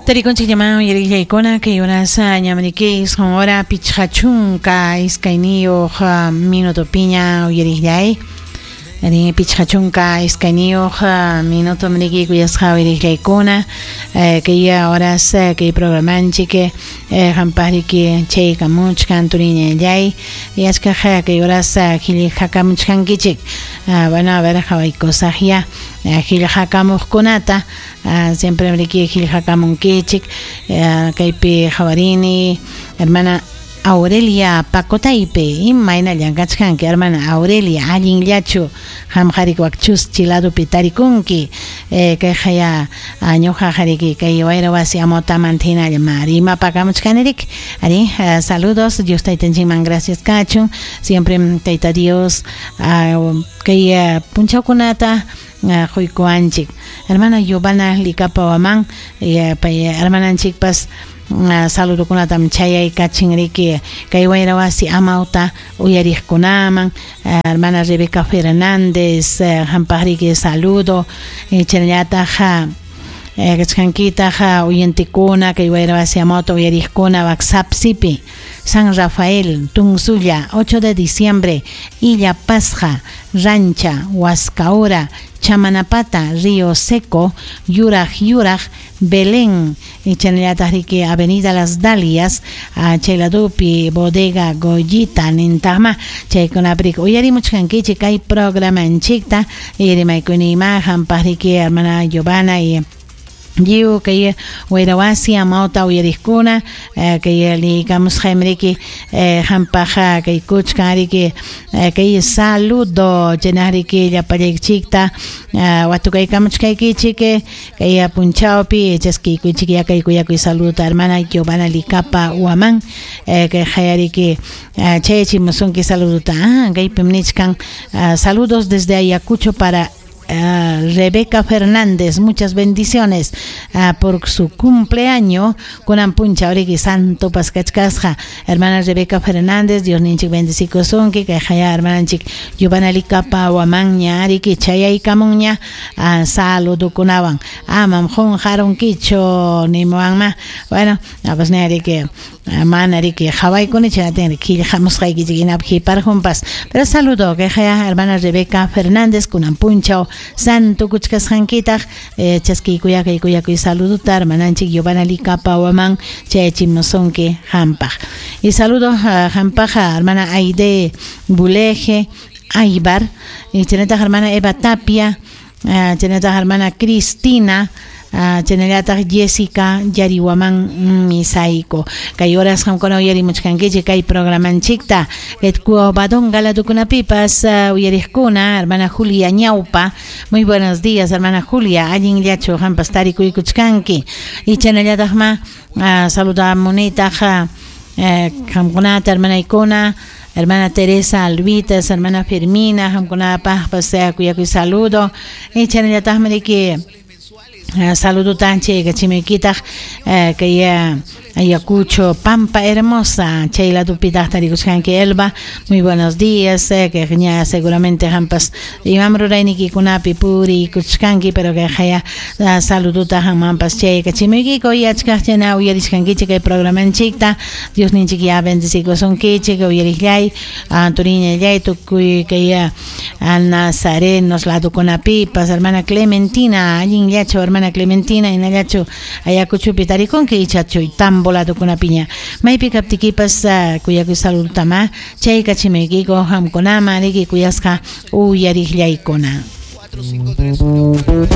Tarikunchik uyariqllaykuna kay horas ñamriki isqun hora pichqa chunka iskayniyuq minutopiña uyariqllay. Ari pichqa chunka iskayniyuq minuto mriki kuyasqa uyariqllaykuna kay horas kay programanchik hampaqriki chaykamuchkan turiñallay yachkaq kay horas qillqakamuchkankichik. Bueno, a ver, qhawaykusaqya qillqakamuqkunata. Siempre mriki qillqakamunkichik kaypi qhawarini hermana Aurelia Pacotaype imayna llank'achkanki hermana Aurelia allinllachu qamqarik wakchus ladopi tarikunki kayqa ya ñuqa qariki kay wayra wasi amotamanta hinalla rimapakamuchkanirik ari saludos Dios taytanchikman gracias kachun siempre Tayta Dios kay punchawkunata quykuwanchik hermana Giovanna Licapa Waman pay hermananchikpas saludokunatam chayaykachinriki kay wayra wasi amawta uyariqkunaman hermana Rebeca Fernández hampaqriki saludo chaynallataq kachkankitaq uyantikuna kay wayra wasi amawta uyariqkuna WhatsApp-sipi San Rafael, Tunzulla, 8 de diciembre, Illapasja, Rancha, Huascaura, Chamanapata, Río Seco, Yuraj Yuraj, Belén, Chanelatahriki, Avenida Las Dalias, Cheladupi, Bodega, Goyita, Nintama, Chaykunaprik, uyarimuchkankichik kay programanchikta, rimaykunima, hampaqriki, hermana Giovanna y Lliw kay wayrawasi amawta uyariqkuna kay liykamusqaymriki hampaq kay kuchkan riki kay saludo chaynariki llapallaykichikta watukaykamuchkaykichik kay punchawpi chaskiykuchik ya kay kuyakuy saludo hermana Giovanna Licapa Huamán kay hayariki chayachimusunki saludota kaypim nichkan saludos desde Ayacucho para Rebeca Fernández, muchas bendiciones por su cumpleaños kunan puncha oriki santo paskachkasqa hermana Rebeca Fernández, Dios ninchik bendecikusunki kay haya hermananchik Giovanna Licapa Huamán ariki chayaykamunña saludukunawan amam qunqarunkichu nimuwanma bueno pues ariki mana riki qhawaykuni chaynatin qillqamusqaykichik hinapi hiparjunpas pero saludo kay haya hermana Rebeca Fernández kunan punchaw santo kuchkasqankitaq chaskiykuya kay kuyakuy saluduta hermananchik Giovanna Licapa Huamán chayachimusunki hampaq y saludo hampaq hermana Aide Buleje Aybar y chaynataq hermana Eva Tapia chaynataq hermana Cristina chaynallataq Jessica Yariwaman Misayko kay horas qamkuna uyarimuchkankichik kay programanchikta Cobadonga ladukunapipas uyariqkuna hermana Julia Ñaupa, muy buenos días hermana Julia, allinllachu qampas tarikuykuchkanki y chaynallataqma saludamunitaq qamkunata hermanaykuna hermana Teresa Alvitas, hermana Fermina, qamkunapaqpas kuyakuy saludo y chaynallataqmi riki saludo tanche kachimiykitaq kay Ayacucho, Pampa Hermosa, Chayla Tupitaq tarikuchkanki Elba, muy buenos días, que ña seguramente hampas imam ruraynikikunapi purikuchkanki, pero que haya saluduta hamampas chay kachimiykiko yachkaq chayna uyarishkankichik kay programanchikta, Dios ninchik ya bendecikusunkichik uyariqllay, turiñallay tukuy kay Nazarenos ladukunapipas, hermana Clementina, allinllachu hermana Clementina, hinallachu Ayacuchopi tarikunki ichachu tambo ladukunapiña maypi kaptikipas kuyakuy saludutama chay kachimuykiko hamkunama riki kuyasqa uyariqllaykuna. 4, 5, 3, 1.